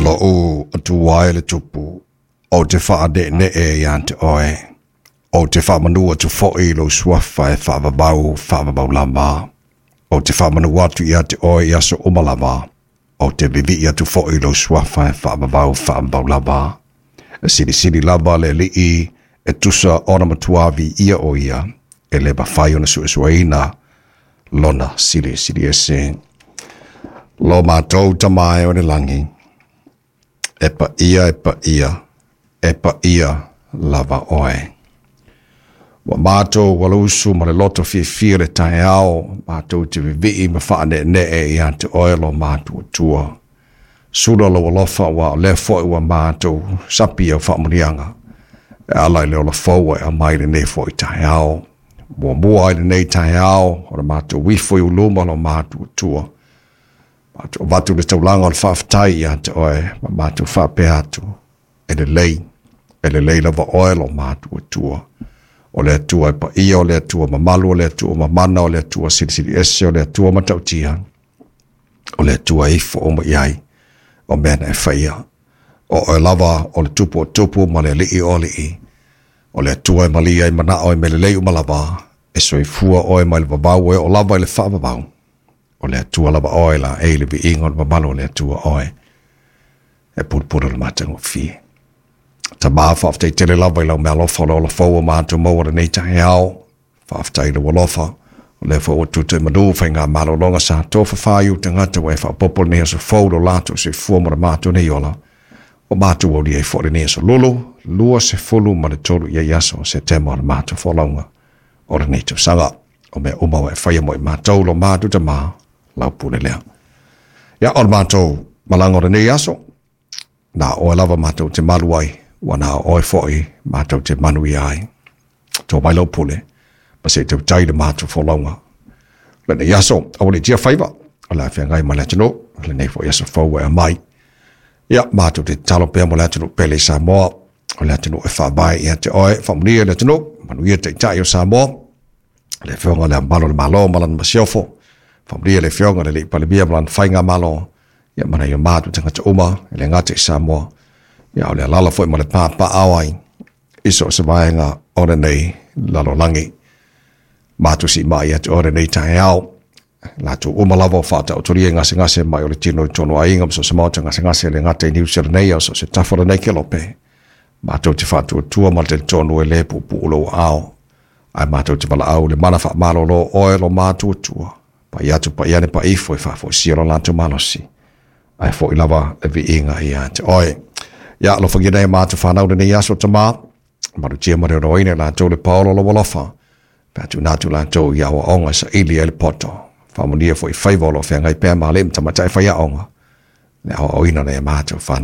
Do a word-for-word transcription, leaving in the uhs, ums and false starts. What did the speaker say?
Lou Atua e le Tupu, ou te faane'ene'e iā te Oe, ou te faamanu atu fo'i i lou Suafa e faavavau faavavau lava. Ou te faamanu atu iā te Oe i aso uma lava, ou te vivi'i atu fo'i i lou Suafa e faavavau faavavau lava. E silisili lava le Alii e tusa ona matuā viia o ia, e lē mafai ona su'esu'eina lona silisili ese. Lo matou Tamā e o i le lagi, e paia e paia, e paia lava Oe. Ua matou alausu ma le loto fiafia le taeao, matou te vivi'i ma faane'ene'e iā te Oe lo matou Atua. Sula lou alofa ua o lea fo'i ua matou sapi au faamuniaga, e ala i le ola fou e aumai lenei fo'i taeao. Muamua ai lenei taeao, o le matou ifo i uluma lo matou Atua. Matou avatu le taulaga o le faafetai iā te Oe, ma matou faapea atu, e lelei, e lelei lava Oe lo matou Atua. O le Atua e paia, o le Atua mamalu, o le Atua mamana, o le Atua silisili ese, o le Atua matautia, o le Atua e ifo uma i ai, o mea na e faia. O Oe lava o le Tupu o tupu ma le Alii o alii, o le Atua e malie ai manao i mea lelei uma lava, e soifua Oe mai le vavau e oo lava i le faavavau. O le Atua lava Oe la e i le viiga o le mamalu o le Atua Oe, e pulupulu le matagofie. Tamā, faafetai tele lava i lau meaalofa o le ola fou ua matou maua lenei taeao. Faafetai i lou alofa, o lea foi ua tuta i manu faiga malologa sa tofafa i ou tagata ua e faaopoopo lenei aso fou lo latou soifua ma le matou nei ola. O matou aulia ai foi lenei aso lulu, lua sefulu ma le tolu i ai aso o Setema o le matou folauga o lenei tausaga. O mea uma ua e faia mo i matou lo matou Tamā, lau pule lea. Ia, o le matou malaga o lenei aso, na oe lava matou te malu ai, ua na oe foi matou te manuia ai. Tō mai lau pule, ma se i tautai le matou folauga. Lenei aso, aua le tia faiva, o le afeagai ma le atunuu, lenei foi aso fou e aumai. Ia, matou te tatalo pea mo le atunuu pele i Samoa, o le atunuu e faavae ia te Oe, faamanuia le atunuu, manuia taitai o Samoa, le afioga le Ao o le Malo ma lana masiofo, faamanuia le afioga le Alii Palemia ma lana faigamalo, ia ma nai o matou tagata uma, e le gata i Samoa, ia o le alaala foi ma le papaaao ai, i so o se vaega o lenei lalolagi. Matou siimai ia te Oe lenei taeao, latou uma lava o faataotolia i gasegase mai o le tino i tonu aiga ma so o se maota gasegase e le gata i Niu Sila nei, a o so o se tafa o lenei kelope. Matou te faatuatua ma le talitonu e le puupuu lou aao, ae matou te valaau i le mana faamalolo o Oe lo matou Atua, pai atu pai ane pai ifo e faafoisia lo latou malosi, ae foi lava le viiga ia te Oe. Ia, alofagia nei matou fanau lenei aso Tamā, malutia ma le onoina i latou le paolo o lou alofa, pe a tuuina atu latou i aoaoga e saili ai le poto. Faamanuia foi i faiva o lo o feagai pea ma alii ma tamaitai faiaoga, le aoaoina o nai a matou fanau.